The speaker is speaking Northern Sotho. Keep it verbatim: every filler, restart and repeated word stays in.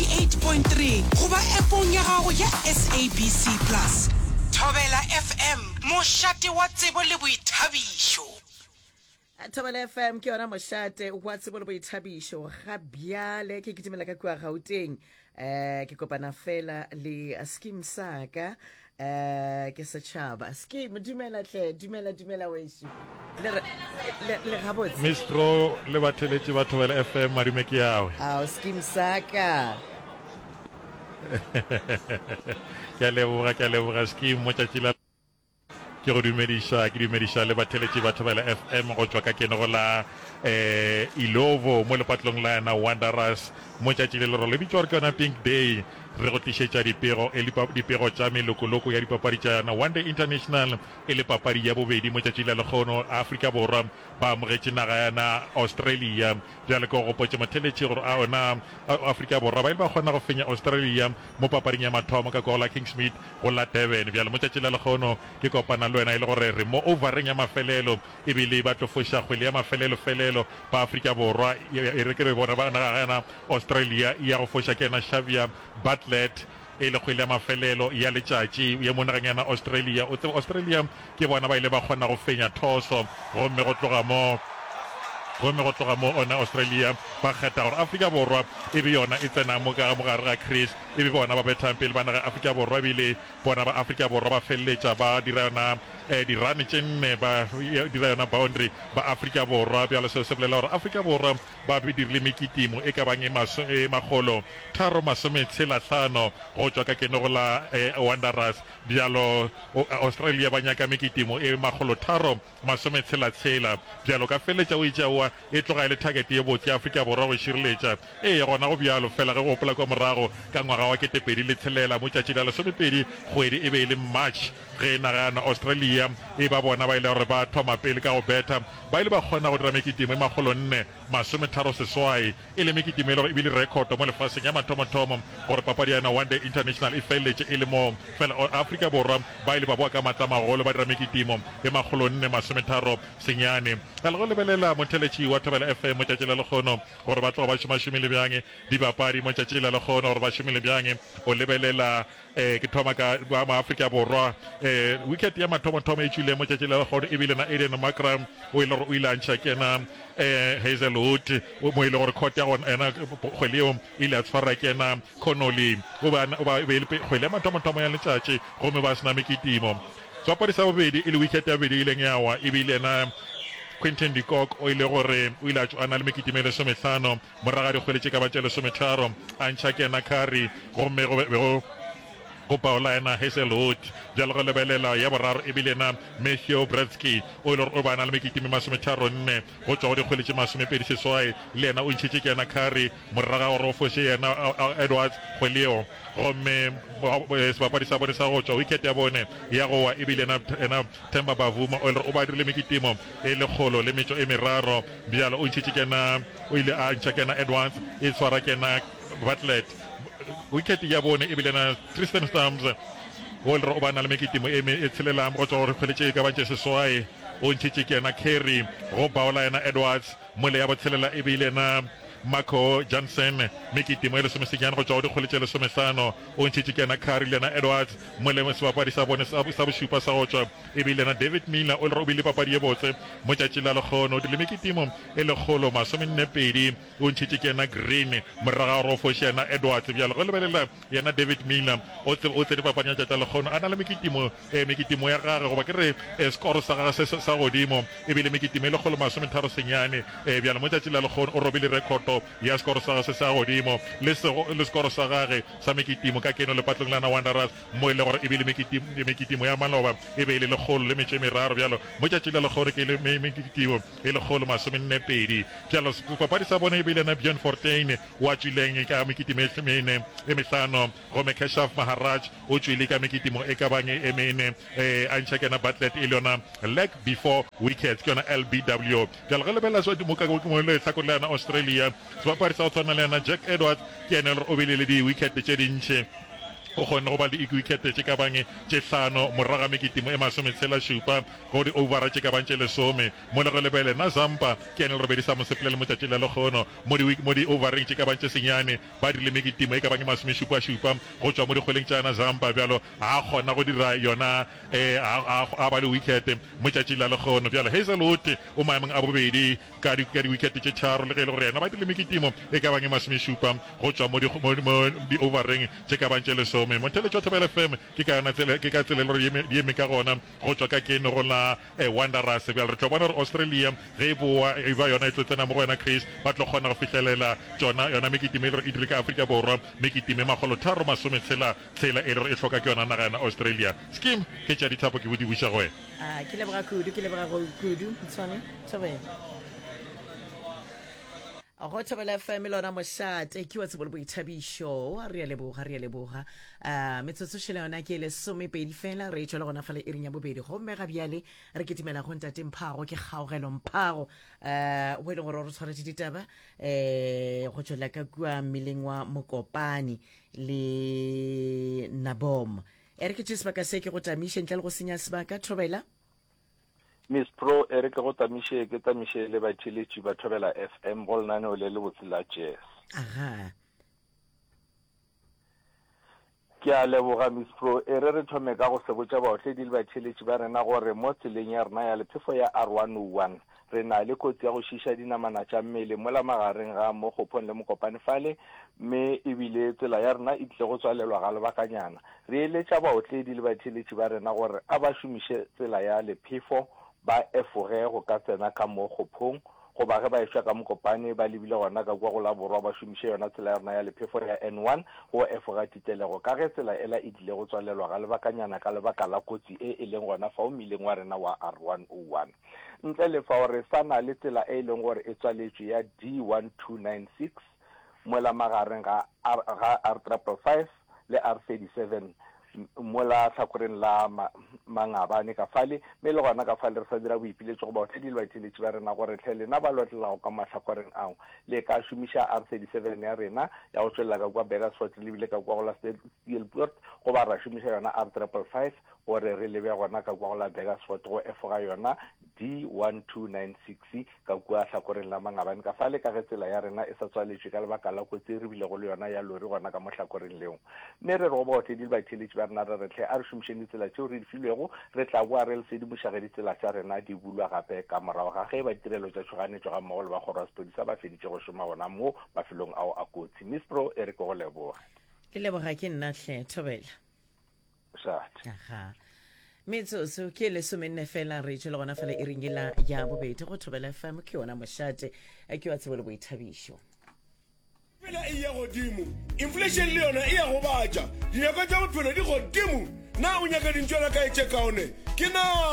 eighty-eight point three goba appong ya gago ya S A B C Plus. Thobela F M, mošate wa tsebo le boithabišo. Thobela F M ke yona mošate wa tsebo le boithabišo. Ga bjale ke kitimela ka kua Gauteng, um ke kopana fela le Skeem Saka, um ke setšhaba. Skeem, dumela tle, dumela, dumela wešo. Le re- le le gabotse? Mistro le batheletši ba Thobela F M, madume ke yawe. Ao, Skeem Saka. Ke a leboga, ke a leboga, Skeem. Mo tšatši la ke go dumediša, ke dumediša le batheletši ba Thobela F M go tšwa ka keno go la um Ilovo mo lepatlong la yona Wanderers. Mo tšatši le lerolo le bitšwa gore ke yona Pink Day, re go tlišetša dipego e dipego tša melokoloko ya dipapadi tša yona One Day International, e le papadi ya bobedi mo tšatši la lekgono. Afrika Borwa ba amogetše naga yana Australia. Bjale ke go gopotše, motheletši, gore a ona Afrika Borwa ba ile ba kgona go fenya Australia mo papading ya mathomo ka kwa go la Kingsmead go la Durban. Bjale mo tšatši la lekgono ke kopana le wena e le gore re mo overeng ya mafelelo, ebile ba tlo foša kgwele ya mafelelo felelo ba Afrika Borwa, e re ke re bona ba naga yana Australia ya go foša ke yena Xavier Bartlett, e le kgwele ya mafelelo ya letšatši ye mo nageng yana Australia. O tseba Australia ke bona ba ile ba kgona go fenya thoso, gomme go tloga mo gomme go tloga mo ona Australia ba kgetha gore Afrika Borwa e be yona e tsenang mo ka mogare ga crease, e be bona ba bethang pele ba naga Afrika Borwa. Ebile bona ba Afrika Borwa ba feleletša ba dira yona um dirane tše nne, ba dira yona boundary ba Afrika Borwa. Bjalo seo se bolela gore Afrika Borwa ba dirile mekitimo e ka bang e e makgolo tharo masome tshela hlano go tšwa ka keno go la Wanderers. Bjalo Australia ba nyaka mekitimo e makgolo tharo masome tshela tshela. Bjalo ka feleletša o itše aowa, e tloga e le target ye botse ya Afrika Borwa go e šireletša. Ee, gona go bjalo fela ge go gopola kua morago ka ngwaga wa ketepedi le tshelela mo tšatši la lesomepedi kgwedi e be e le March, ge naga yana Australia e ba bona ba ile gore ba thoma pele ka go betha, ba ile ba kgona go dira mekitimo e makgolo nne masometharo seswai, e le mekitimo e le gore e bile rekhoto mo lefaseng ya mathomothomo gore papadi ya yona One Day International e feleletše e le moo. Fela Afrika Borwa ba ile ba boa ka maatla a magolo, ba dira mekitimo e makgolo nne masometharo senyane. Bjale go lebelela motheletši wa Thobela F M mo tšatši la lekgono gore ba tloga ba šomašomile bjang dibapadi mo tšatši la lekgono, gore ba šomile bjang, o lebelela um ke thoma ka ba Maafrika Borwa. um wicket ya mathomothomo e tšwile mo tšatši la lekgono ebile na Aiden Markram, o ile gore o ile a ntšha ke yena um Hazelwood, mo e le gore court ya gona yena kgwele yeo e ile a tshwara ke yena Connolly. O ba o ba e be e le kgwele ya mathomothomo ya letšatši, gomme ba se na mekitimo. Sebapadi sa bobedi, e le wicket ya bobedi e ileng ya wa, ebile yena Quinton de Kock, o ile gore o ile a tšwa a na le mekitimo e lesomehlano morago ga dikgwele tše ka ba tše lesometharo, a ntšha ke yena Curry, gomme go be go go paola yena Hazelwood. Bjalo go lebelela ya boraro ebile yena Matthew Breetzke, o ile gore o ba na le mekitimo e masometharo nne go tšwa go dikgwele tše masomepedi seswai, le yena o ntšhitše ke yena Curry morago ga gore o foše yena Edwards kgwele yeo. Gomme sebapadi sa bone sa go tšwa, wicket ya bone ya go wa, ebile yena yena Themba Bavuma, o ile gore o ba dirile mekitimo e lekgolo le metšo e meraro. Bjalo o ntšhitše ke yena, o ile a ntšha ke yena Edwards, e tshwara ke yena Bartlett. Wicket ya bone ebile yena Tristan Stubbs, o ile gore o ba na le mekitimo e e tshelelang go tšwa go dikgwele tše e ka bang tše seswai, o ntšhitše ke yena Curry, go baola yena Edwards. Mole ya botshelela e bile yena Marco Jansen, mekitimo e lesomesenyane go tšwa go dikgwele tše lesomehlano, o ntšhitše ke yena Curry le yena Edwards. Mole sebapadi sa bone sa bošupa sa go tšwa e bile yena David Miller, o le gore o bile papadi ye botse mo tšatši la lekgono, o dirile mekitimo e lekgolo masomenne pedi, o ntšhitše ke yena Green morago ga gore o foše yena Edwards. Bjale go lebelela yena David Miller, o o tsene papading ya tšatši la lekgono a na le mekitimo eh, mekitimo ya gage, goba ke re eh, skoro sa gage se sa godimo e bile mekitimo e lekgolo masometharo senyane. eh, bjale mo tšatši la lekgono o robile rekhoto ya skoro sa gage se sa godimo le, sego, le skoro sa gage sa mekitimo ka keno lepatlong la na Wanderers, mo e le gore e bile mekitimo, mekitimo ya maloba e be e le lekgolo le metšo e meraro. Bjalo mo tšatši la lekgono ke le mekitimo e lekgolo masomenne pedi. Bjalo papadi sa bone e bile na Bjorn Fortuin, wa tšwileng ka mekitimo e mene e mehlano, gomme Keshav Maharaj o tšwile ka mekitimo e ka bang e mene, e a ntšha ke yena Bartlett, e le yona leg before wickets, ke yona L B W. Bjalo ge lebelela se mo ka mo lehlakore la yona Australia, sebapadi sa go tshwana le yena Jack Edwards ke yena e le gore o bile le di-wicket tše dintši. O kgonne go ba le diwikete tše ka bang tše hlano morago ga mekitimo e masometshela šupa go di-ovara tše ka bang tše lesome. Mo le go lebele, na Zampa ke yena le robedi sa mosepelele mo tšatšing la lekgono mo di mo di-overeng tše ka bang tše senyane ba dirile mekitimo e ka bang e masomešupa šupa go tšwa mo dikgweleng tša na Zampa. Bjalo ga a kgona go dira yona eh, a, a, a ba le wicket mo tšatšing la lekgono. Bjalo Hazelwood o maemong a bobedi ka di ka di-wicket tše tharo, le ge e le gore yena ba dirile mekitimo e ka bang e masomešupa go tšwa mo di mo di-overeng tše ka bang tše lesome. Motheletši wa Thobela F M ke ka yona tsela, ke ka tsela e le gore di eme ka gona go tšwa ka keno go la eh, Wanderers. Bjale re tlo bona gore Australia ge e boa e ba yona e tlo tsena mo go yona Chris, ba tlo kgona go fihlelela tšona yona mekitimo e le gore e dire ka Afrika Borwa mekitimo e makgolo tharo masometshela tshela e le gore e hloka ke yona naga yona Australia. Skim ke tša dithapo ke bo di buša go wena. A ke leboga kudu, ke leboga go kudu, Mtshwane. Thobela. Go Thobela F M lona mošate ke wa tsebo le boithabišo. Re a leboga, re a leboga. Uh, metsotso šele yona ke lesomepedi fela, re tšwa le gona fale iring ya bobedi. Gomme ga bjale re kitimela go ntate Mphago, ke Kgaogelo Mphago, uh, o e leng gore o re tshwaretše ditaba eh go tšwela ka kua mmileng wa Mokopane le Nabom. E re ke tše sebaka se ke go tamiše ntle le go senya sebaka. Thobela. Miss Pro, e re ke go tamiše, ke tamiše le batheeletši ba Thobela F M go lenaneo le lebotse la Jazz. Aha. Ke a leboga Miss Pro. E re re thome ka go sebotša baotledi le batheeletši ba rena gore mo tseleng ya rena ya lephefo ya R one oh one re na le kotsi ya go šiša dinamana tša mmele mola magareng ga Mokgophong le Mokopane fale, mme ebile tsela ya rena e tlile go tswalelwa ga lebakanyana. Re eletša baotledi le batheeletši ba rena gore a ba šomiše tsela ya lephefo, ba efoge go ka tsena ka Mokgophong, goba ge ba ešwa ka Mokopane ba lebile gona ka kua go la borwa, ba šomiše yona tsela ya rena ya lephefo ya N one go efoga titelego, ka ge tsela ela e tlile go tswalelwa ga lebakanyana ka lebaka la kotsi e e leng gona fao mmileng wa rena wa R one oh one. Ntle le fao re sa na le tsela e leng gore e tswaletšwe ya D one two nine six mola magareng ga R, ga R triple five le R thirty seven mola hlakoreng la ma-, Mangabane ka fale, mme le gona ka fale re sa dira boipiletšo go baotledi le batheeletši ba rena gore hle lena ba lotlelago ka mahlakoreng ao le ka šomiša R thirty seven ya rena ya go tšwelela ka kua Burgersfort le bile ka kua go la Steelpoort, goba ra šomiša yona R triple five gore re lebe gona ka kua go la Burgersfort go efoga yona D one two nine six ka kua hlakoreng la Mangabane ka fale, ka ge tsela ya rena e sa tswaletšwe ka lebaka la kotsi e re bilego le yona ya lori gona ka mo hlakoreng leo. Mme re re go baotledi le batheeletši ba rena re re hle a re šomišeng ditsela tšeo re di filwego, re tla boa re le sedimoša ge ditsela tša rena di bulwa gape ka morago ga ge ba ditirelo tša tšhoganetšo ga mmogo le ba kgoro ya sephodisa ba feditše go šoma gona mo mafelong ao a kotsi. Miss Pro, e re ke go leboge. Ke leboga ke nna hle, Thobela. Šate. Aha. Metsotso ke lesomenne fela re tšwele gona fela e ringela ya bobedi go Thobela F M ke yona mošate ke wa tsebo le boithabišo. Pela e ya godimo, inflation le yona e ya gobatša, dinyakwa tša bophelo di godimo. Na o nyaka dintšwana kae tše kaone? Ke na